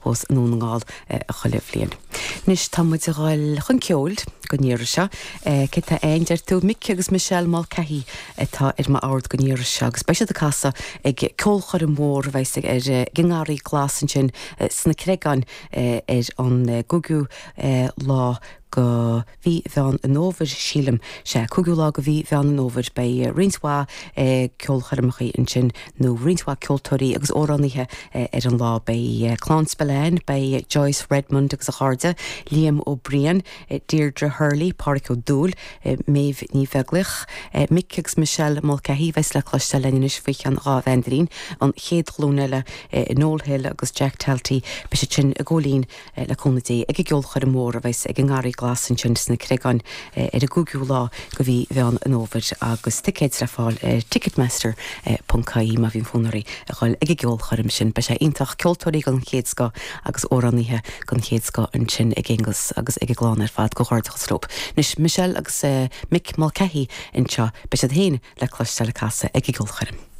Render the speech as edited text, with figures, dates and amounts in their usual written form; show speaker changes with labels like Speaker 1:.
Speaker 1: thapós i nDún na nGall chuile bhliain. Anois tá muid a dhul chun ceoil don iarraidh seo. Cé tá ann, deir tú? Mick agus Michelle Mulcahy atá ar m'ord don iarraidh seo agus beidh siad ag casadh ag ceolchoirm mhór a bheas ag ar ag an nGarraí Glas ansin sna Creagáin ar an gcúigiú lá go mhí Mheán an Fhómhair, sílim. Sea, cúigiú lá go mhí Mheán an Fhómhair. Beidh roinnt mhaith ceolchoirmeacha ansin, nó roinnt mhaith ceoltóirí agus amhránaithe ar an lá. Beidh Clann Spillane, beidh Joyce Redmond agus a chairde, Liam Ó Briain, Deirdre Hurley, Pádhraic Ó Dúill, Méabh Ní Bheaglaoich, Mick agus Michelle Mulcahy, a bheas le cloisteáil linn anois faoi cheann dhá mheandairín, an chéad ghlúin eile, Noel Hill agus Jack Talty, beidh siad sin ag gabháil fhoinn le cúnamh Dé, ag an gceolchoirm mhór a bheas ag an nGarraí Glas ansin sna Creagáin ar an gcúigiú lá de mhí Mheán an Fhómhair agus ticéid le fáil ar Ticketmaster ponc ie má bhíonn fonn oraibh a dhul ag an gceolchoirm sin. Beidh sé iontach, ceoltóirí den chéad scoth agus amhránaithe den chéad scoth ansin ag Aonghus agus ag a gclann ar fad. Comhghairdeachas leo. Anois Michelle agus Mick Mulcahy anseo, beidh siad féin le cloisteáil ag casadh ag an gceolchoirm.